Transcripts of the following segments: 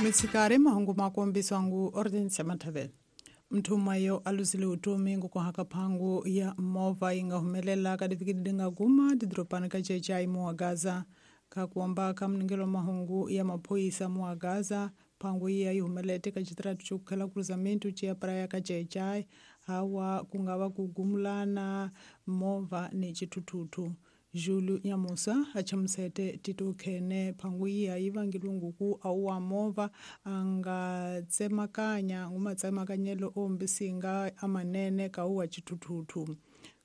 Mitsikari mahungu makombiswa ngu Ordinance Mathavela. Mthuma yo alusile utomi ngukuhaka phangu ya movha yi nga humelela ka divikidi nga guma didorobani ka Chechai muwa Gaza. Ka kuomba ka mningelo mahungu ya maphoyisa muwa Gaza, phangu iya yi humelete ka xitiratu xo kukhela cruzamento ciya praia ka Chechai, hawa ku nga va ku gumulana movha ni xithuthuthu. Julu Nyamusa a chamusete Tito Khene phangu iya yi vangilwe nguku a wa movha a nga tsemakanya ngumatsemakanyelo o mbisinga amanene ka uwa xithuthuthu.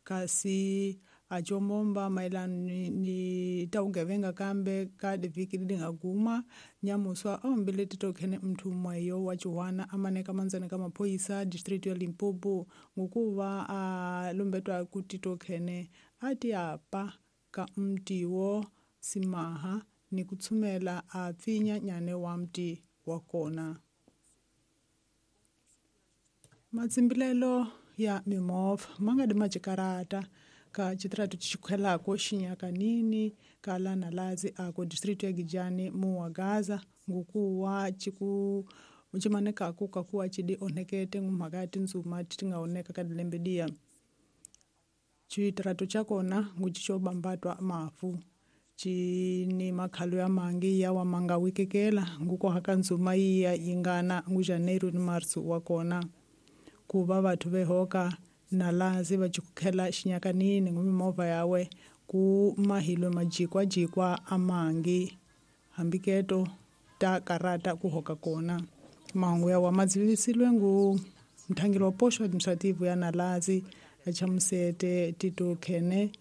Kasi a combomba mayelana ni ta vugevenga kambe ka divhiki leti nga guma, Nyamuswa a hombile Tito Khene mthuma yo wa Chiwana a maneka mandzeni ka maphoyisa district ya Limpopo ngukuva a lumbetwa ku Tito Khene a ti apa ka mti wo simaha ni ku tshumela a pfinya nyane wa mti wa kona. Matsimbilelo ya mimovha ma nga di macikarata ka xitiratu xikhwelako xinyakanini ka lana lazi ako district ya Gijani muwa Gaza ngukuwa ciku cimanekaku kakuwa cidi onhekete ngumhaka ya tindzuma ti nga oneka ka dilembe diya. Xitiratu xa kona nguci xo bambatwa mafu ci ni makhalo ya mangi yawa ma nga wikekela ngukuhaka ndzuma yiya yi ngana ngu Janeiro ni Marso wa kona. Ku va vathu vehoka na lazi va cikukhela xinyakanini ngu mimovha yawe ku mahilwe majikwajikwa a mangi hambiketo ta karata ku hoka kona. Mahungu yawa ma dzivisilwe ngu mthangeli wa poxo administrative ya Nalazi a chamusete Tito Khene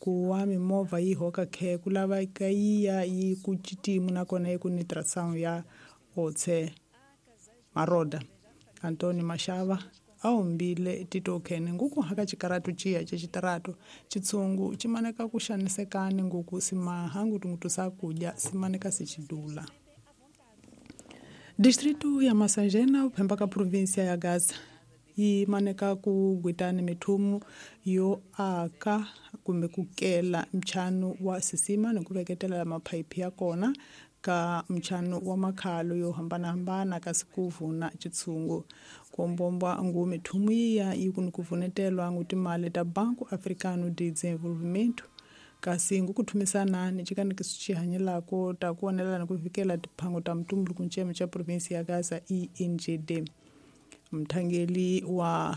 ku wa mimovha yi hoka khe ku laveka yiya yi ku citimu nakona yi ku ni tração ya otse maroda. Antônio Machava a hombile Tito Khene nguku haka xikaratu ciya xa xitaratu xitshungu xi maneka ku xanisekani nguku simaha ngutungutu sakudya simaneka se xidula. Distritu ya Massangena uphemba ka província ya Gaza yi maneka ku gwitani mithumu yo aka kumbe ku kela nchanu wa sisima ni ku veketela maphayiphi ya kona ka nchanu wa makhalo yo hambanahambana kasi ku vuna xitshungu. Ku ngu mithumu yiya yi ku ni ku vunetelwa ngu timali ta Banco Africano de Desenvolvimento kasi ngu ku thumisana ni xikanikiso xi hanyelako ta ku onela ni ku vikela tiphango ta mutumbuluko nceme xa provinsi ya Gaza ENGD. Mthangeli wa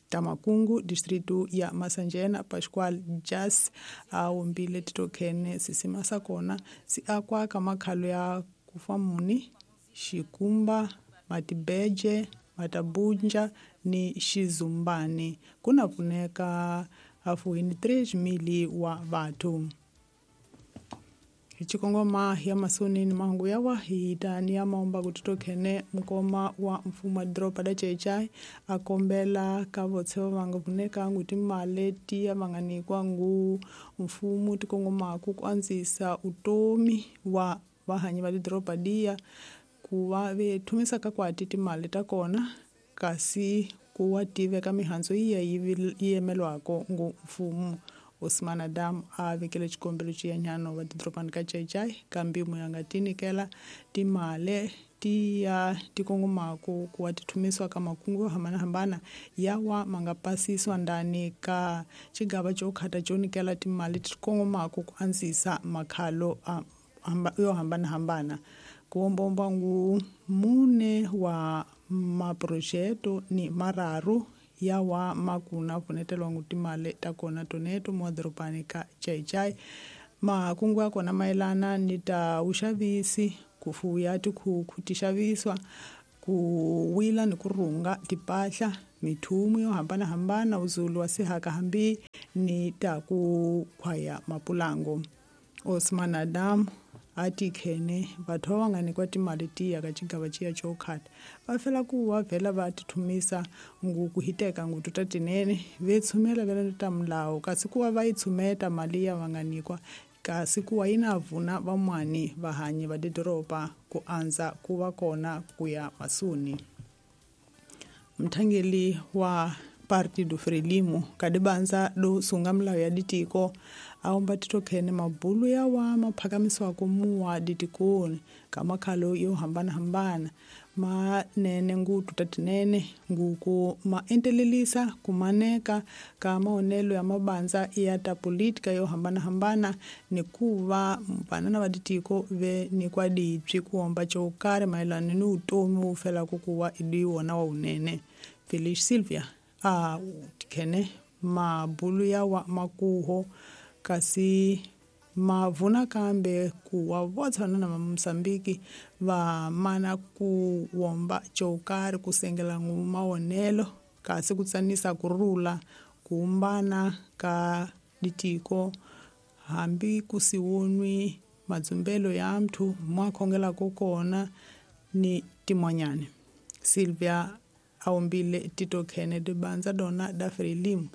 Tamakungu distritu ya Massangena Pascoal Jas a hombile Tito Khene sisima sa kona si akwa ka makhalo ya Kufamuni, Xikumba, Matibeje, Matabunja ni Xizumbani. Ku na pfuneka hafuhini 3,000 wa vathu. Hi xikongoma ya masoni ni mahungu yawa hi ta ni ya maomba ku Tito Khene mukoma wa mfumo wa doroba la Chechai a kombela ka votsheva va nga pfuneka ngu timali tiya va nga nyikiwa ngu mfumo ti kongomaku ku andzisa utomi wa vahanyi va lidoroba liya ku va ve thumisa ka kwati timali ta kona kasi ku wa tiveka mihandzu yiya yi yemelwako ngu mfumo. Osman Adam a vekele xikombelo xiyanyano wa didorobani ka Chechai ka mpimo ya nga tinyikela timali tiya ti kongomaku ku wa ti thumisiwa ka makungu yo hambanahambana yawa ma nga pasisiwa ndani ka xigava xo khata xo nyikela timali ti kongomaku ku andzisa makhalo yo hambanahambana. Ku ombomba ngu mune wa maprojeto ni mararu yawa makuna pfunetelwa ngu timali ta kona toneto mo dorobani ka Chechai. Makungu ya kona mayelana ni ta vuxavisi, ku fuya tikhukhu ti xavisiwa, ku wila ni ku rhunga timpahla, mithumu yo hambanahambana, uzulu wa sihaka hambi ni ta ku khwaya mapulango. Osman Adam a ti khene vathu va nga nyikiwa timali tiya ka xigava xiya xo khata va fela ku va vhela va ti thumisa ngu ku hiteka ngutu ta tinene ve tshumela vela ta milawu kasi ku va va yi tshumeta mali ya va nga nyikiwa kasi ku wa yi na vuna van'wani vahanyi va tidoroba ku andza ku va kona ku ya masuni. Mthangeli wa Partido Frelimo kadibanza do sunga milawu ya ditiko Aomba titokhene mabulu yawa maphakamisiwako muwa ditikoni ka makhalo yo hambanahambana manene ngutu tatinene nguku ma entelelisa kumaneka ka maonelo ya mabanza ya ta política yo hambanahambana ni kuva vanana va ditiko ve nikwa dipyi kuomba cokari mayelana ni utomi wu felaka kuwa idi wona wa wunene. Felice Silvia a tikhene mabulu yawa makuho kasi mavuna kambe kuwa votshana na Moçambique va mana ku womba cokari ku sengela mawonelo kasi ku tsanisa kurhula kuumbana ka ditiko hambi ku siwonwi madzumbelo ya mthu mo akhongelaka kona ni timonyane. Silvia aombile titokhene dibanza dona da Frelimo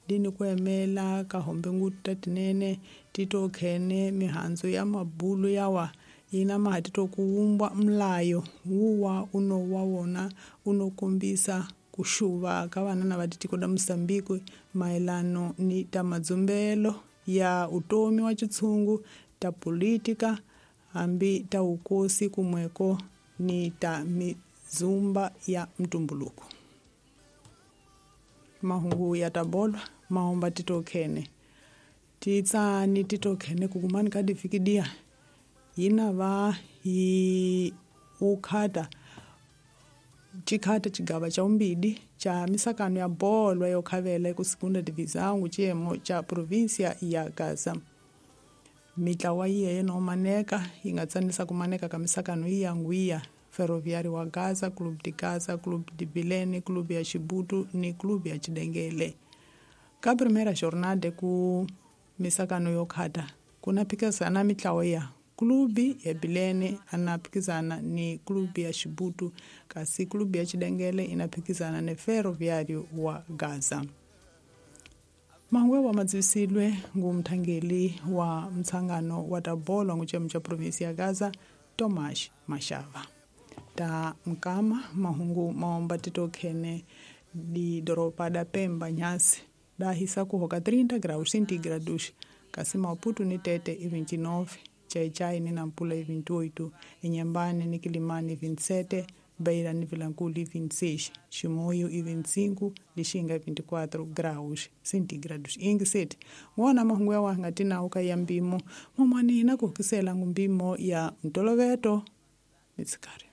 dini ku emela ka hombe ngutu tatinene titokhene mihandzu ya mabulu yawa yina maha titokuwumbwa mlayo wuwa uno wa wona unokombisa kuxuva ka vanana va titiko da Moçambique mayelano ni ta madzumbelo ya utomi wa xitshungu ta política hambi ta wukosi kumweko ni ta mizumba ya mtumbuluko. Mahungu ya tabolwa maomba titokhene titsani titokhene kukumani ka difikidia yina va yi ukhata cikhata cigava ca umbidi ca misakano ya bolwa yo khavela eku segunda divisão ciyemo ca província ya Gaza. Mitlawa yiye nomaneka yi nga tsanisa kumaneka ka misakano iya ngwiya Ferroviário wa Gaza, Clube de Gaza, Clube de Bilene, Clube ya Chibutu ni Clube ya Chidengele. Ka primeira jornada ku misakano yo khata kuna phikizana mitlawa ya Clube ya Bilene ana phikizana ni Clube ya Chibutu kasi Clube ya Chidengele ina phikizana ni Ferroviário wa Gaza. Mangwe wa madzivisilwe ngu mthangeli wa mtsangano wa tabolo ngu cemu ca província ya Gaza, Tomás Machava. Ta mkama mahungu maomba titokhene didoropa da Pemba nyasi dahisa kuhoka 30 graus centígrados kasi Maputo ni Tete i 29, Chaichai ni Nampula i 28, Inhambane ni Quilimane 27, Beira ni Vilankulo 26, Chimoio i 25, Lixinga 24 graus centígrados. Ingiseti wona mahungu yawa nga tinawu ka ya mpimo momwani na ku hukisela ngu mpimo ya ntoloveto mitsikari.